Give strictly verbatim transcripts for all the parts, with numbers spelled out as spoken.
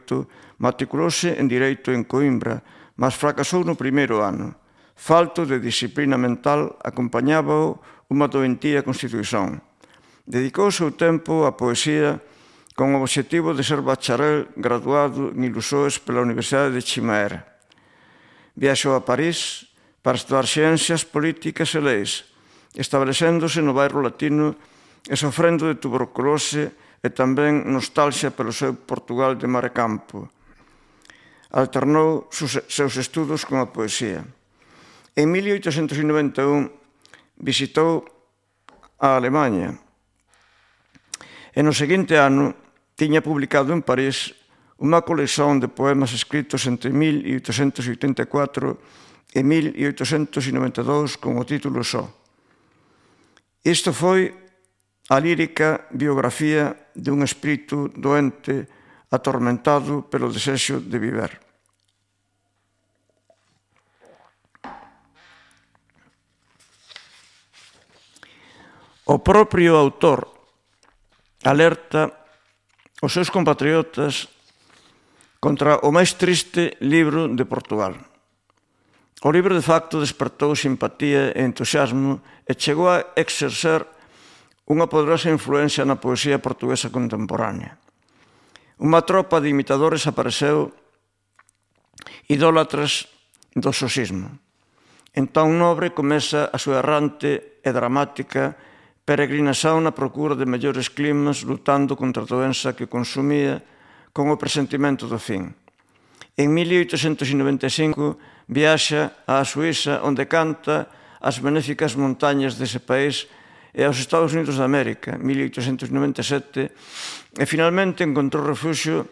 oito matriculouse en Direito en Coimbra, mas fracasou no primeiro ano. Falto de disciplina mental acompañábao unha doentía constitución. Dedicou o seu tempo á poesía con o obxectivo de ser bacharel graduado en Ilusoes pela Universidade de Chimaera. Viaxou a París para estudar ciencias políticas e leis, establecéndose no bairro latino e sofrendo de tuberculose e tamén nostalgia pelo seu Portugal de mar e campo. Alternou seus estudos con a poesía. En mil oitocentos noventa e un visitou a Alemanha e no seguinte ano tiña publicado en París unha colección de poemas escritos entre mil oitocentos oitenta e catro e mil oitocentos noventa e dous con o título só. Isto foi a lírica biografía dun espírito doente atormentado pelo desexo de viver. O propio autor alerta os seus compatriotas contra o máis triste libro de Portugal. O libro, de facto, despertou simpatía e entusiasmo e chegou a exercer unha poderosa influencia na poesía portuguesa contemporánea. Unha tropa de imitadores apareceu idólatras do sosismo. Entón Nobre comeza a súa errante e dramática peregrinación na procura de mellores climas, lutando contra a doença que consumía con o presentimento do fin. En mil oitocentos noventa e cinco viaxa á Suíza, onde canta as benéficas montañas dese país, e aos Estados Unidos de América, mil oitocentos noventa e sete, e finalmente encontrou refuxio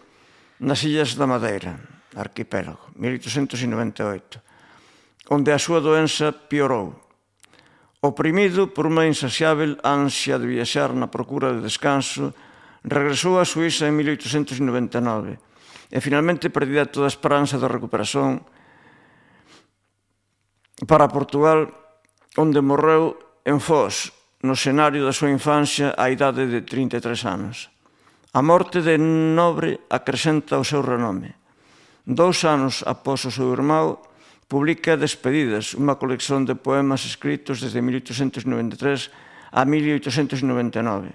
nas Illas da Madeira, arquipélago, mil oitocentos noventa e oito, onde a súa doença piorou. Oprimido por unha insaciável ansia de viaxar na procura de descanso, regresou a Suíza en mil oitocentos noventa e nove e finalmente perdida toda a esperanza de recuperación para Portugal, onde morreu en Foz, no escenario da súa infancia á idade de trinta e tres anos. A morte de Nobre acrescenta o seu renome. Dous anos após o seu irmão, publica Despedidas, unha colección de poemas escritos desde mil oitocentos noventa e tres a mil oitocentos noventa e nove.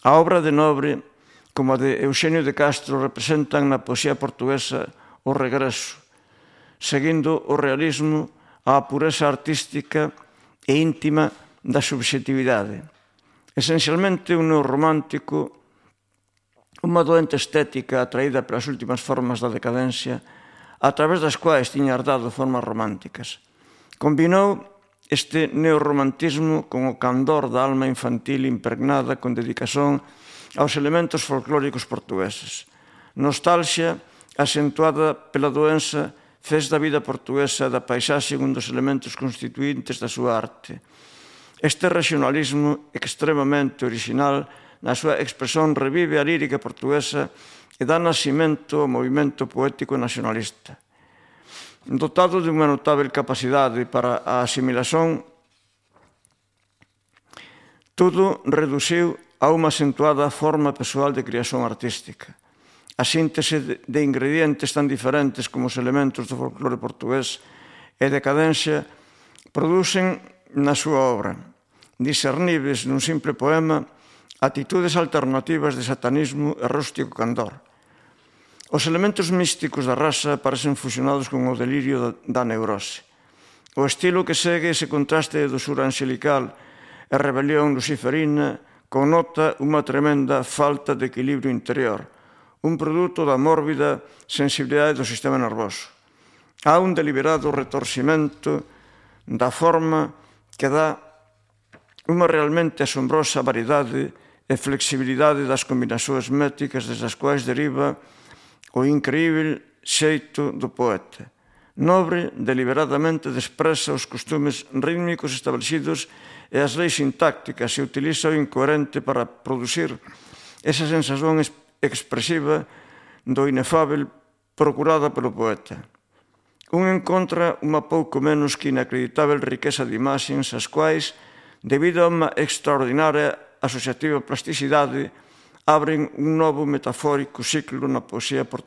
A obra de Nobre, como a de Euxenio de Castro, representan na poesía portuguesa o regreso, seguindo o realismo á pureza artística e íntima da subxetividade. Esencialmente un neorromántico, unha doente estética atraída pelas últimas formas da decadencia, a través das quais tiña herdado formas románticas. Combinou este neorromantismo con o candor da alma infantil impregnada con dedicación aos elementos folclóricos portugueses. Nostalgia, acentuada pela doença, fez da vida portuguesa da paisaxe un dos elementos constituintes da súa arte. Este regionalismo extremamente original na súa expresión revive a lírica portuguesa e dá nacimento ao movimento poético nacionalista. Dotado de unha notável capacidade para a asimilación, todo reduciu a unha acentuada forma persoal de creación artística. A síntese de ingredientes tan diferentes como os elementos do folclore portugués e decadencia producen na súa obra, discernibles nun simple poema, actitudes alternativas de satanismo e rústico candor. Os elementos místicos da raza parecen fusionados con o delirio da neurose. O estilo que segue ese contraste de dosura angelical e rebelión luciferina connota unha tremenda falta de equilibrio interior, un produto da mórbida sensibilidade do sistema nervoso. Há un deliberado retorcimento da forma que dá unha realmente asombrosa variedade e flexibilidade das combinacións métricas desde as quais deriva o increíble xeito do poeta. Nobre deliberadamente despreza os costumes rítmicos establecidos e as leis sintácticas e utiliza o incoherente para producir esa sensación expresiva do inefável procurada pelo poeta. Un encontra unha pouco menos que inacreditável riqueza de imaxes as quais, debido a unha extraordinaria asociativa plasticidade, abren un novo metafórico ciclo na poesía portuguesa.